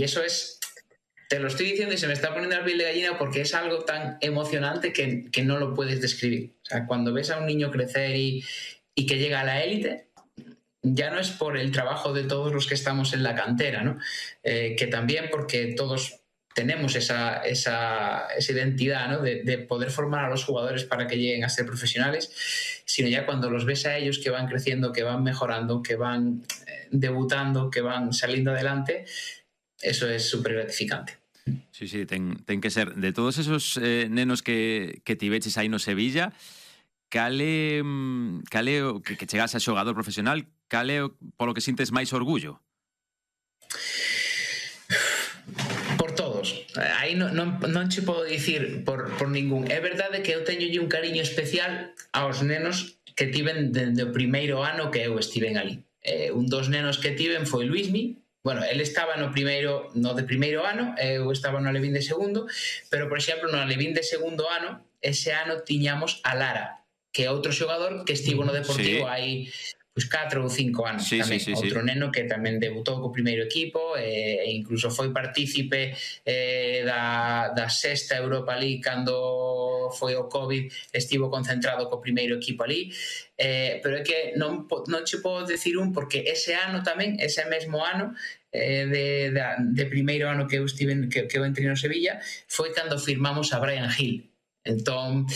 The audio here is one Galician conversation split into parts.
eso es, te lo estoy diciendo y se me está poniendo la piel de gallina porque es algo tan emocionante que no lo puedes describir. O sea, cuando ves a un niño crecer y que llega a la élite, ya no es por el trabajo de todos los que estamos en la cantera, ¿no? Que también porque todos tenemos esa identidad, ¿no? de poder formar a los jugadores para que lleguen a ser profesionales, sino ya cuando los ves a ellos que van creciendo, que van mejorando, que van debutando, que van saliendo adelante, eso es súper gratificante. Sí, ten que ser. De todos esos nenos que ti veches aí no Sevilla, cale que chegase a xogador profesional, cale polo que sintes máis orgullo? Por todos. Aí non che podo dicir por ningún. É verdade que eu teño un cariño especial aos nenos que tiven dende o primeiro ano que eu estiven ali. Un dos nenos que tiven foi Luismi. Bueno, ele estaba no de primeiro ano, eu estaba no Alevín de segundo, pero, por exemplo, no Alevín de segundo ano, ese ano tiñamos a Lara, que é outro xogador que estivo no Deportivo hai 4 ou 5 anos tamén. Outro neno que tamén debutou co primeiro equipo e incluso foi partícipe da sexta Europa League cando foi o COVID, estivo concentrado co primeiro equipo ali, pero é que non che podo decir porque ese ano tamén, ese mesmo ano de primeiro ano que eu entrei no Sevilla, foi cando firmamos a Brian Hill. Entón,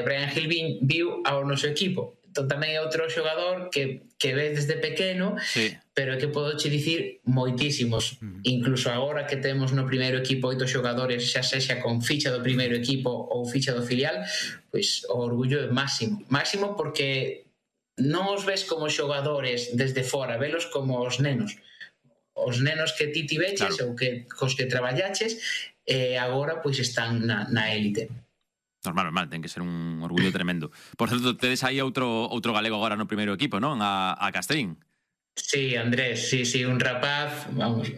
Brian Hill viu ao noso equipo. Entón tamén é outro xogador que ves desde pequeno, pero é que podo che dicir moitísimos. Incluso agora que temos no primeiro equipo 8 xogadores, xa sexa con ficha do primeiro equipo ou ficha do filial, pois o orgullo é máximo. Máximo porque non os ves como xogadores desde fora, velos como os nenos. Os nenos que ti veches ou cos que traballaches agora pois están na élite. Normal, ten que ser un orgullo tremendo. Por certo, tedes aí outro galego agora no primeiro equipo, non? A Castrín. Sí, Andrés, sí, un rapaz, vamos,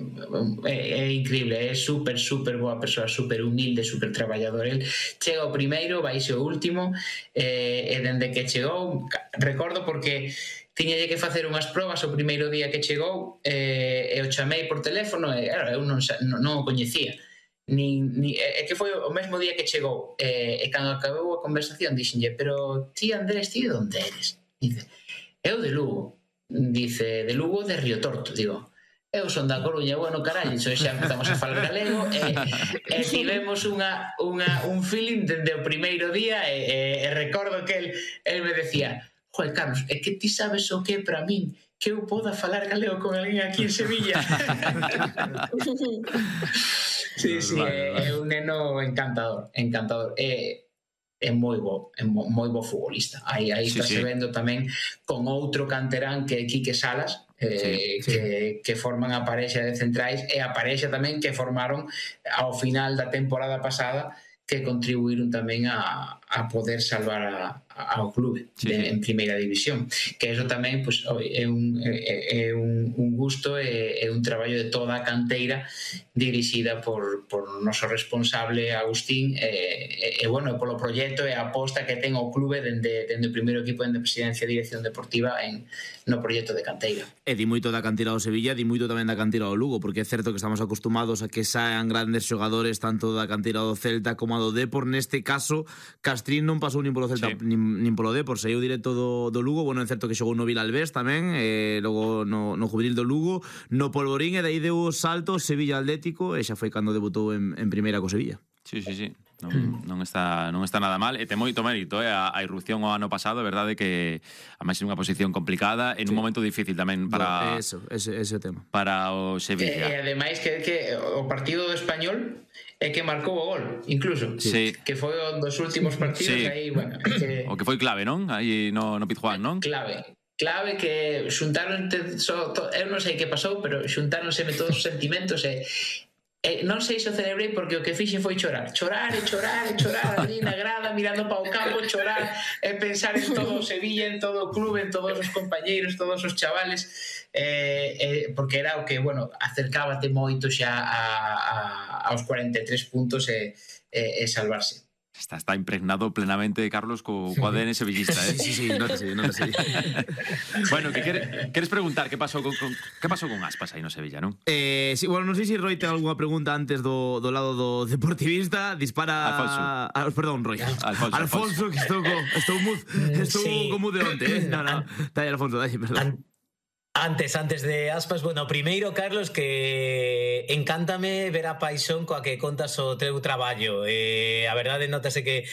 é increíble, é super boa persoa, super humilde, super traballador. El chega o primeiro, vaise o último, e dende que chegou, recordo porque tiñalle que facer unhas probas o primeiro día que chegou, e o chamei por teléfono e eu non o coñecía. É que foi o mesmo día que chegou, e cando acabou a conversación dixenlle: pero ti, Andrés, ti de onde eres? Dice: eu de Lugo. Dice: de Lugo, de Río Torto. Digo: eu son da Coruña. Bueno, carallo, xa empezamos a falar galego e tivemos un feeling dende o primeiro día e recordo que el me decía: joder, Carlos, é que ti sabes o que é para min que eu poda falar galego con alguén aquí en Sevilla. Sí, é un neno encantador. É moi bo futbolista. Aí está se vendo tamén con outro canterán que é Quique Salas, que forman a parexa de centrais e a parexa tamén que formaron ao final da temporada pasada, que contribuíron tamén a poder salvar ao clube en primeira división, que eso tamén pues, é un gusto e un traballo de toda a canteira dirixida por noso responsable Agustín e bueno, polo proxecto e a aposta que ten o clube dende o primeiro equipo de presidencia e dirección deportiva no proxecto de canteira. E di moito da canteira do Sevilla, di moito tamén da canteira do Lugo, porque é certo que estamos acostumados a que saen grandes xogadores tanto da canteira do Celta como a do Depor. Neste caso, Castrín non pasou nin polo Celta nin polo Depor, saiu directo do Lugo. Bueno, é certo que xogou no Vilalbés tamén, logo no juvenil do Lugo, no Polvorín, e daí deu o salto Sevilla Atlético e xa foi cando debutou en primeira co Sevilla. Sí. Non está nada mal e ten moito mérito a irrupción o ano pasado. É verdade que a máis unha posición complicada en un momento difícil tamén para ese tema para o Sevilla. E ademais que o partido do Español é que marcou o gol, incluso, que foi un dos últimos partidos aí, bueno, o que foi clave, non? Aí no Pizjuán, non? Clave que xuntáronse, eu non sei que pasou, pero xuntáronse todos os sentimentos e non sei se o celebrei porque o que fixe foi chorar ali na grada, mirando para o campo, chorar e pensar en todo o Sevilla, en todo o clube, en todos os compañeiros, todos os chavales, porque era o que, bueno, acercábate moito xa aos 43 puntos e salvarse. Está impregnado plenamente, Carlos, co ADN sevillista, eh? Sí, nótase. Bueno, que queres preguntar que pasou con Aspas aí no Sevilla, non? Sí, bueno, non sei se Roy ten algunha pregunta antes do lado do deportivista. Dispara... Perdón, Roy. Alfonso, que estou co mude onte, eh? No. Dai, Alfonso, perdón. Antes de Aspas, bueno, primeiro, Carlos, que encántame ver a paixón coa que contas o teu traballo. A verdade, notase que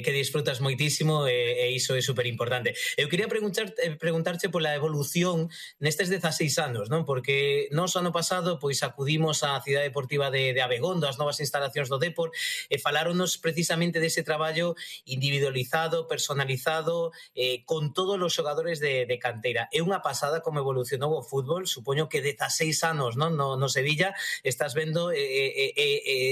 disfrutas moitísimo e iso é super importante. Eu quería preguntarche pola evolución nestes 16 anos, non? Porque nós ano pasado pois acudimos á Cidade Deportiva de Abegondo, as novas instalacións do Depor, e faláronos precisamente dese traballo individualizado, personalizado, con todos os xogadores de canteira. É unha pasada como evolucionou o fútbol, supoño que 16 anos, non? No Sevilla estás vendo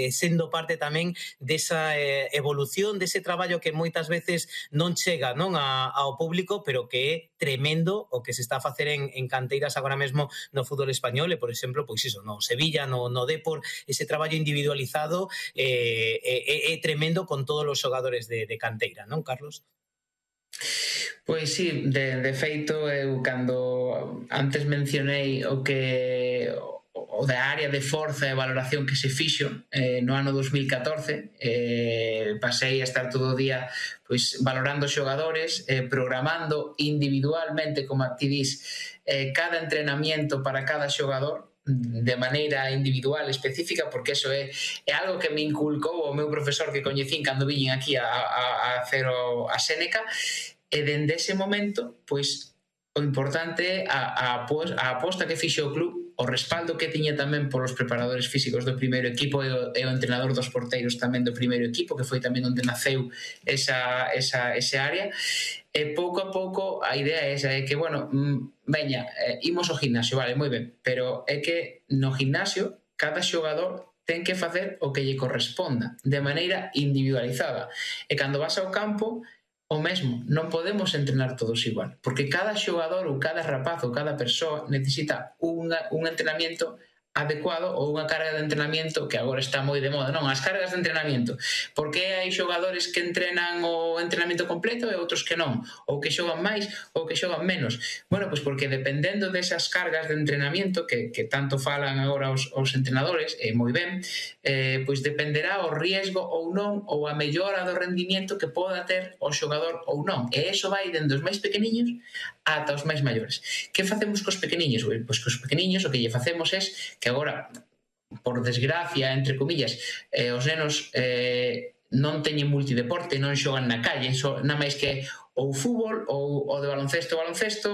sendo parte tamén desa evolución, dese traballo que moitas veces non chega, non, ao público, pero que é tremendo o que se está a facer en canteiras agora mesmo no fútbol español e, por exemplo, pois iso, no Sevilla, no Depor, ese traballo individualizado é tremendo con todos os xogadores de canteira, non, Carlos? Pois sí, de feito, eu cando antes mencionei o da área de forza e valoración que se fixo no ano 2014, pasei a estar todo o día pois valorando xogadores, programando individualmente, como ti dis, cada entrenamiento para cada xogador de maneira individual, específica, porque eso é algo que me inculcou o meu profesor que coñecín cando viñen aquí a hacer a Séneca. E dende ese momento, pois, o importante é a aposta que fixe o club, o respaldo que tiña tamén polos preparadores físicos do primeiro equipo e o entrenador dos porteiros tamén do primeiro equipo, que foi tamén onde naceu ese área. E pouco a pouco a idea é esa, é que, bueno, veña, imos ao gimnasio, vale, moi ben, pero é que no gimnasio cada xogador ten que facer o que lle corresponda, de maneira individualizada. E cando vas ao campo, o mesmo, non podemos entrenar todos igual, porque cada xogador ou cada rapaz ou cada persoa necesita un entrenamiento adecuado ou unha carga de entrenamiento que agora está moi de moda, non? As cargas de entrenamiento. Por que hai xogadores que entrenan o entrenamento completo e outros que non? Ou que xogan máis ou que xogan menos? Bueno, pois porque dependendo desas cargas de entrenamiento que tanto falan agora os entrenadores, e moi ben, pois dependerá o riesgo ou non, ou a mellora do rendimiento que poda ter o xogador ou non. E iso vai dende os máis pequeniños ata os máis maiores. Que facemos cos pequeniños? Pois cos pequeniños o que lle facemos é que agora, por desgracia, entre comillas, os nenos non teñen multideporte, non xogan na calle, nada máis que ou fútbol, ou o de baloncesto,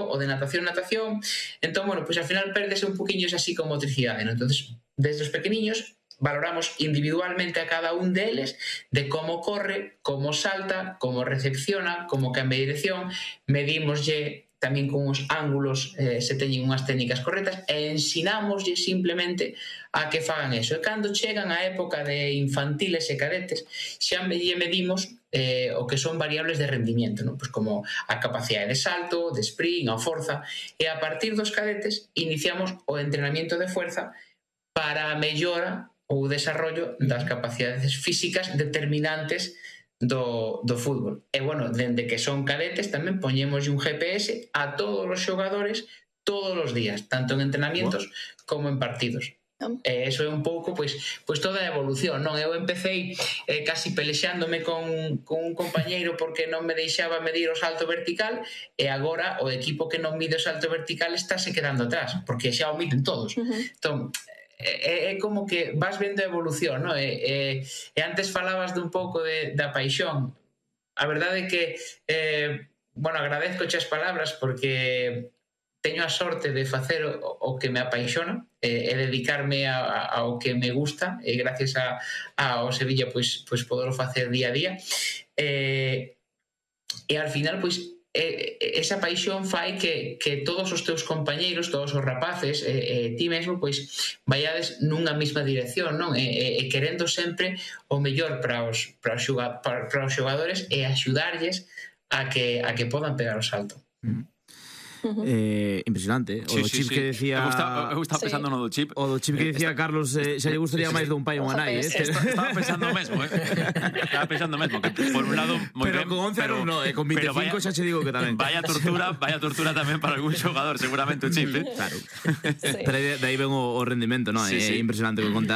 o de natación. Entón, bueno, pois ao final perdese un poquinho esa psicomotricidade, non? Entonces, desde os pequeniños valoramos individualmente a cada un deles de como corre, como salta, como recepciona, como cambia de dirección, medímoslle tamén con os ángulos se teñen unhas técnicas correctas e ensinámoslle simplemente a que fagan eso. E cando chegan a época de infantiles e cadetes xa medimos o que son variables de rendimiento, non? Pois como a capacidade de salto, de sprint, a forza, e a partir dos cadetes iniciamos o entrenamiento de fuerza para a mellora ou desarrollo das capacidades físicas determinantes do fútbol. E, bueno, dende que son cadetes tamén poñemos un GPS a todos os xogadores todos os días, tanto en entrenamientos como en partidos. E eso é un pouco, pois toda a evolución, non? Eu empecé casi pelexándome con un compañeiro porque non me deixaba medir o salto vertical e agora o equipo que non mide o salto vertical estáse quedando atrás, porque xa o miden todos. Entón, é como que vas vendo a evolución, non? E antes falabas de un pouco da paixón. A verdade é que, bueno, agradezco as palabras porque teño a sorte de facer o que me apaixona e dedicarme ao que me gusta, e gracias ao Sevilla pois poderlo facer día a día. E al final, pois, esa paixón fai que todos os teus compañeiros, todos os rapaces, ti mesmo, pois vaiades nunha mesma dirección, non? E querendo sempre o mellor para os xogadores e axudarlles a que podan pegar o salto. Impresionante. O do chip que decía... Eu estaba pensando no do chip. O do chip que decía Carlos, xa lle gustaría máis dun pai ou unha nai, Estaba pensando mesmo, Estaba pensando mesmo, que por un lado moi pero ben, con 11 anos no, con 25 xa che digo que tamén. Vaya tortura tamén para algún xogador, seguramente o chip, Claro. Pero de aí ven o rendimento, non? É impresionante o que conta